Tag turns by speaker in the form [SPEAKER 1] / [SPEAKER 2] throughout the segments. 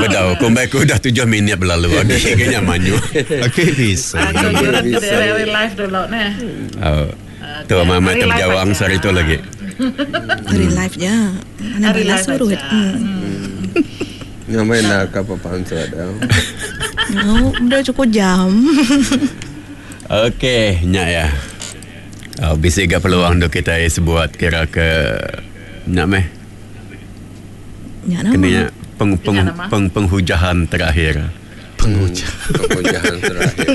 [SPEAKER 1] Bedau kumbai ku udah tujuh minit belalu agi ke nya manyuh.
[SPEAKER 2] Agi bisi.
[SPEAKER 3] Aku nyurut ke diri ari live dulu neh.
[SPEAKER 1] Au. Tu amat amat
[SPEAKER 3] Ari
[SPEAKER 1] tau
[SPEAKER 3] live
[SPEAKER 1] bejawang
[SPEAKER 3] aja.
[SPEAKER 1] sehari tu lagi.
[SPEAKER 4] Ari live ja. Anang
[SPEAKER 3] Ari
[SPEAKER 4] bala
[SPEAKER 3] live
[SPEAKER 4] surut.
[SPEAKER 3] aja.
[SPEAKER 5] Nyamai enda ka pepansut au.
[SPEAKER 4] Au, udah cukup jam.
[SPEAKER 1] Okey, nya iya. Au bisi ga peluang duk kitai sebuat kira ke nya meh.
[SPEAKER 4] Nya nama.
[SPEAKER 1] Kena nya peng peng
[SPEAKER 3] Nya nama.
[SPEAKER 1] peng penghujahan terakhir.
[SPEAKER 2] Penghujahan.
[SPEAKER 5] Penghujahan terakhir.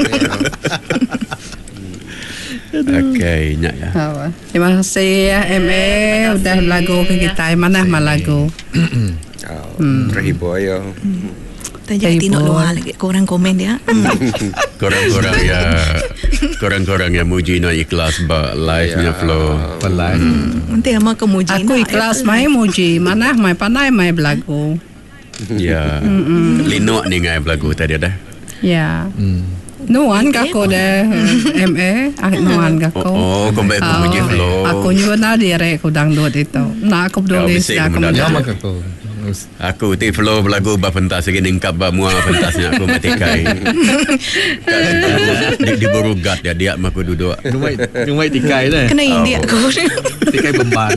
[SPEAKER 1] Okey, nya iya.
[SPEAKER 6] Au. Terima kasih ya MA udah belagu ke kitai manah mah lagu.
[SPEAKER 5] Au, terhibur ayo.
[SPEAKER 4] Taja ti enda luar lagi ko orang komen dia.
[SPEAKER 1] Kurang-kurang iya kurang-kurang iya muji nuan ikhlas ba live nya flow.
[SPEAKER 2] Ba live.
[SPEAKER 4] Enti ama ke muji
[SPEAKER 6] Aku ikhlas mai muji manah mai pandai mai belagu.
[SPEAKER 1] Ya. Linuk ninga belagu tadi dah.
[SPEAKER 6] Ya. Nuan ga aku deh MA nuan ga aku.
[SPEAKER 1] Oh, oh kumbai aku muji flow.
[SPEAKER 6] Aku nyuna diri ku dangdut ditu. Enda aku peduli sida ke meda.
[SPEAKER 1] Aku ti flow belagu ba pentas agi ningkap ba mua pentas nya aku meh tikai. Ka di diburu guard dia dia meh aku duduk.
[SPEAKER 2] Nyumai nyumai tikai neh.
[SPEAKER 4] Kena indik aku.
[SPEAKER 2] Tikai bemban.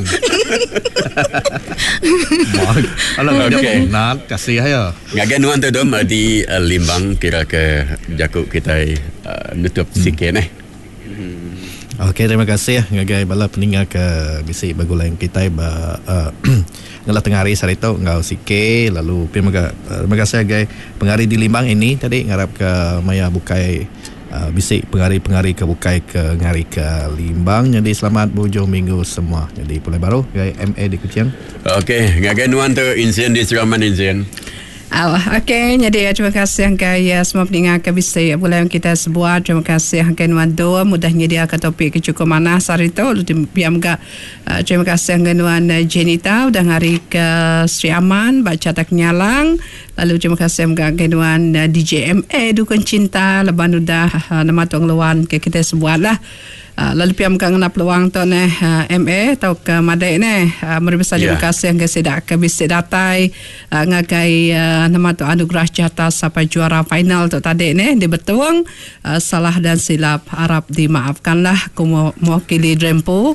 [SPEAKER 2] Alah
[SPEAKER 1] Okey.
[SPEAKER 2] Nat kasih iya.
[SPEAKER 1] Ngagai nuan tu dom di Limbang kira ke jaku kitai nutup sikit neh.
[SPEAKER 2] Okey terima kasih ngagai bala peninga ke bisi begulai enggau kitai ba ngalah tengah hari sehari tu enggau CK lalu pia mega terima kasih ngagai pengari di Limbang ini tadi ngarap ke maya bukai bisi pengari-pengari ke bukai ke ngari ke Limbang nyadi selamat beujung minggu semua nyadi pulai baru ngagai MA di Kuching.
[SPEAKER 1] Okey ngagai nuan tu Insin di Seraman Insin.
[SPEAKER 6] Au ok nyadi terima kasih enggai semua peninga ke bisi begulai enggau kitai sebuat terima kasih enggai nuan Dom udah nyediaka topik ke chukup manah sehari tu lalu pia mega terima kasih enggai nuan Jenita udah ngarika Sri Aman ba Chata Kenyalang lalu terima kasih mega enggai nuan DJ MA Dukun Cinta laban udah nama tu ngeluan ke kitai sebuat lah. Lalu pia mega ngena peluang tu neh MA tauka madik neh meri besai terima kasih ngagai sida ke bisi datai ngagai nama tu anugerah jata sampai juara final tu tadi neh di Betong salah dan silap arap dimaafkan lah ku mewakili Drempu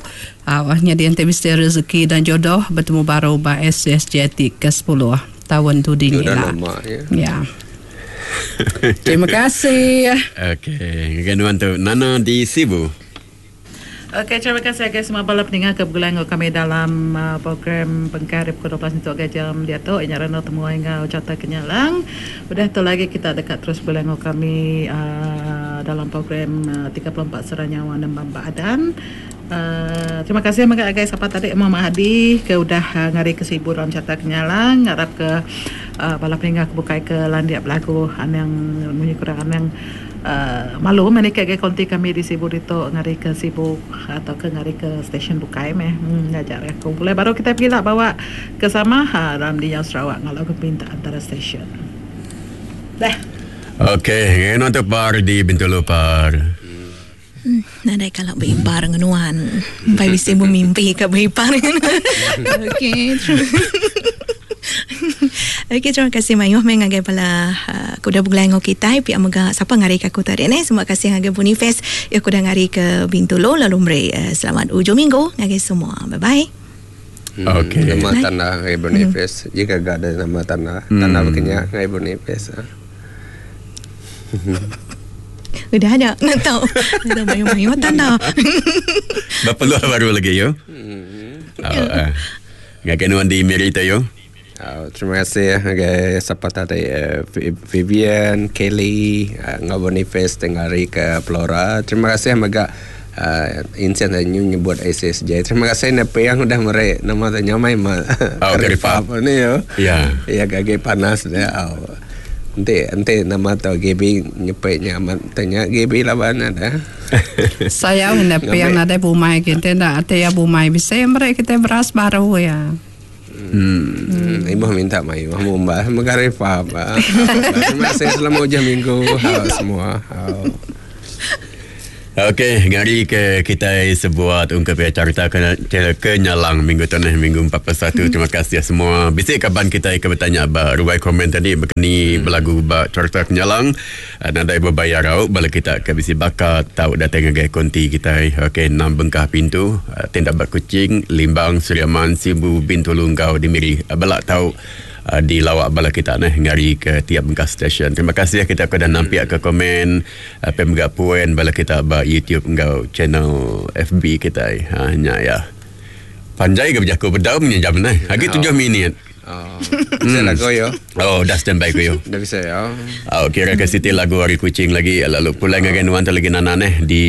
[SPEAKER 6] nyadi enti bisi rezeki dan jodoh betemu baru ba SSJ ti ke sepuluh taun dudi nya ila. Ya. Terima kasih.
[SPEAKER 1] Okey, ngagai nuan tu Nana di Sibu.
[SPEAKER 3] Okey, terima kasih agai semua bala peninga ke begulai enggau kami dalam program Bengkah ari pukul 12 nyentuk agai jam diatu inya randau temuai enggau Charter Kenyalang. Udah tu lagi kita deka terus begulai enggau kami dalam program 34 Sera Nyawa Nembang Baadan. Terima kasih mega agai sapa tadi Muhammad Hadi ke udah ngari ke Sibu dalam Charter Kenyalang ngarap ke bala peninga ke bukai ke landik belagu anang munyi kurang anang malu meh niki agai konti kami di Sibu ditu ngari ke Sibu atau ke ngari ke stesen bukai meh ngajar aku pulai baru kitai pegila bawa ke sama dalam Dinyau Sarawak ngalau ke pinta antara stesen. Dah.
[SPEAKER 1] Okey, ngena tu par di Bintulu par.
[SPEAKER 4] Nadai kala beipar enggau nuan. Empai bisi bemimpi ka beipar enggau nuan. Okey. Okey terima kasih mayuh meh ngagai bala uh, ke udah begulai enggau kitai pia mega sapa ngari ke aku tadi neh. Terima kasih ngagai Boniface ya ke udah ngari ke Bintulu lalu meri uh, selamat ujung minggu ngagai semua. Bye bye.
[SPEAKER 1] Okey.
[SPEAKER 5] Nama tanda ngagai Boniface. Jika ga ada nama tanda, tanda bekenya ngagai Boniface.
[SPEAKER 4] Udah ada nak tahu. Udah mayuh-mayuh tanda.
[SPEAKER 1] Berpeluh baru lagi yo. Oh, uh. Ngagai nuan di Miri tu yo.
[SPEAKER 5] Oh, terima kasih ngagai sapa tadi eh, Vivian, Kelly, eh, enggau Boniface tengah hari ke Flora. Terima kasih mega uh, insen nyu nyebut SSJ. Terima kasih na piang udah meri nama tu nyamai ma.
[SPEAKER 1] Oh, karipap.
[SPEAKER 5] Ni yo.
[SPEAKER 1] Ya.
[SPEAKER 5] Ya gagi panas dia. Oh. Enti enti nama tu GB nyepi nya amat tanya GB laban ada.
[SPEAKER 6] Sayau ngena piang nadai bumai agi enti enda ati iya bumai bisi meri kitai beras baru iya.
[SPEAKER 5] Hmm. Ibuh minta mayuh mumbah mega refap. Terima kasih selamat ujung minggu semua.
[SPEAKER 1] Okey, ngari ke kitai sebuat ungkup iya carita ke, ke, kenyalang minggu tu neh minggu 41. Terima kasih semua. Bisi kaban kitai ke betanya ba ruai komen tadi bekeni belagu ba carita kenyalang. Eh, nadai bebayar au bala kita ke bisi bakat tau datai ngagai konti kitai. Okey, enam bengkah pintu eh, tenda ba Kuching, Limbang, Sri Aman, Sibu, Bintulu enggau di Miri. Eh, Bela tau uh, di lawak bala kita neh ngari ke tiap bengkah stesen. Terima kasih kita ke dah nampiak ke komen uh, pe mega puen bala kita ba YouTube enggau channel FB kita. Ha nya ya. Panjai ke bejaku bedau punya jam neh. Agi tujuh minit.
[SPEAKER 5] Oh. Bisa lagu yo.
[SPEAKER 1] Oh, dah standby ku yo.
[SPEAKER 5] Dah bisa ya.
[SPEAKER 1] Oh, kira ke siti lagu hari kucing lagi lalu pulai ngagai nuan tu lagi nana neh di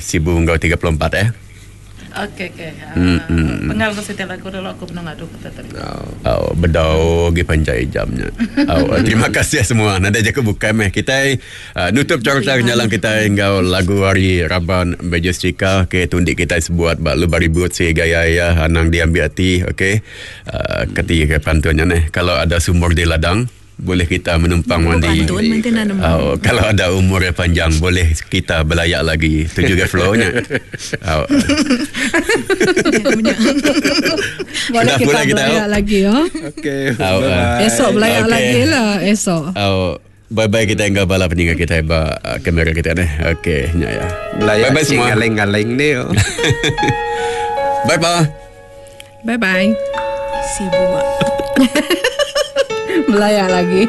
[SPEAKER 1] Sibu enggau 34 eh.
[SPEAKER 3] Okey okey. Uh, hmm. Pengal aku siti lagu dulu aku benung ngadu ke tadi.
[SPEAKER 1] Oh, oh bedau gi panjai jamnya. Oh, terima kasih semua. Nadai jaku bukai meh. Kita uh, nutup cerita nyalang kita enggau lagu hari Raban Majestica ke tundi kita sebuat ba lu baribut si gaya ya anang diambil hati okey. Uh, keti ke pantunnya neh. Kalau ada sumur di ladang boleh kita menumpang mandi.
[SPEAKER 4] Pantun mungkin nak nemu.
[SPEAKER 1] Oh, kalau ada umur yang panjang boleh kita belayak lagi. Itu juga flow-nya. Oh.
[SPEAKER 6] Boleh
[SPEAKER 1] Sudah
[SPEAKER 6] kita
[SPEAKER 1] pula kita,
[SPEAKER 6] belayak
[SPEAKER 1] oh.
[SPEAKER 6] lagi oh.
[SPEAKER 5] Okey.
[SPEAKER 1] Oh,
[SPEAKER 5] Bye.
[SPEAKER 6] Esok belayak
[SPEAKER 1] Okey.
[SPEAKER 6] lagi lah esok.
[SPEAKER 1] Oh, bye-bye kita enggau bala peninggal kita ba uh, kamera kita ni. Okey, nya ya.
[SPEAKER 5] Belayak
[SPEAKER 1] Bye-bye semua.
[SPEAKER 5] Galing-galing ni. oh.
[SPEAKER 1] Bye bye.
[SPEAKER 6] Bye bye.
[SPEAKER 4] Sibuk.
[SPEAKER 6] Belayak lagi.